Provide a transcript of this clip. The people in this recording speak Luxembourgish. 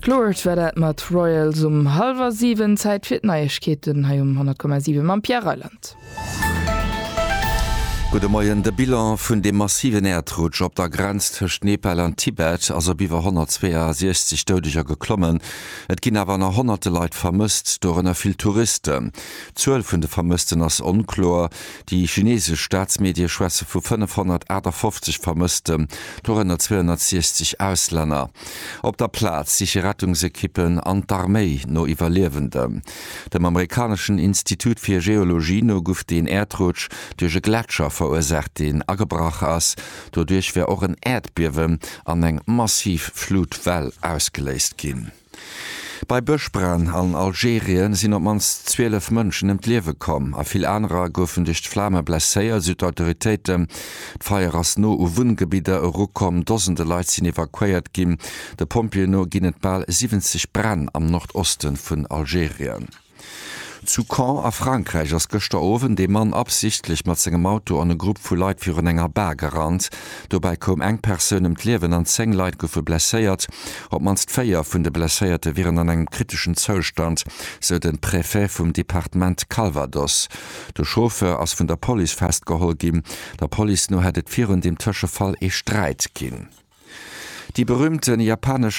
Lorde war dat mat Royals um hallwer 7. Zäit fir d'Neiegkeeten hei um 100,7 mam Pierre Reyland. Gudde Moien. De Bilan vun deem massiven Äerdrutsch op der Grenz tëscht Nepal an Tibet ass op iwwer 162 Doudeger geklommen. Et ginn awer nach honnerte Leit vermësst, dorënner vill Touristen. D'Zuel vun de Vermëssten ass onkloer. Déi chinesesch Staatsmedie schwätze vu 558 Vermëssten, dorënner 260 Auslänner. Op der Plaz siche Rettungsekippen an d'Arméi no Iwwerliewenden. Dem amerikaneschen Institut fir Geologie no guff deen Äerdrutsch duerch e Gletscher verursaacht, deen agebrach ass. Doduerch wär och en Äerdbiewen an eng massiv Flutwell ausgeléist ginn. Bei Bëschbränn an Algerien sinn op d'mannst 12 Mënschen ëm d'Liewe komm a vill anerer goufen duerch d'Flame blesséiert, esou d'Autoritéiten. D'Feier ass no u Wunngebidder erukomm, Dosende Leit sinn evakuéiert ginn. De Pompjeeën no ginn et bal 70 Bränn am Nordoste vun Algerien. Zu Caen a Frankräich ass gëschter Owend ee Mann absichtlech mat sengem Auto an e Grupp vu Leit virun enger Bar gerannt. Dobäi koum eng Persoun ëm d'Liewen an 10 Leit goufe blesséiert. Op d'mannst 4 vun de Blesséierte wieren an engem kriteschen Zoustand, sou de Préfet vum Departement Calvados. De Chauffeur ass vun der Police festgeholl ginn. Der Police no hätt et virun deem Tëschefall ee Sträit ginn. Déi berüümte japanesch.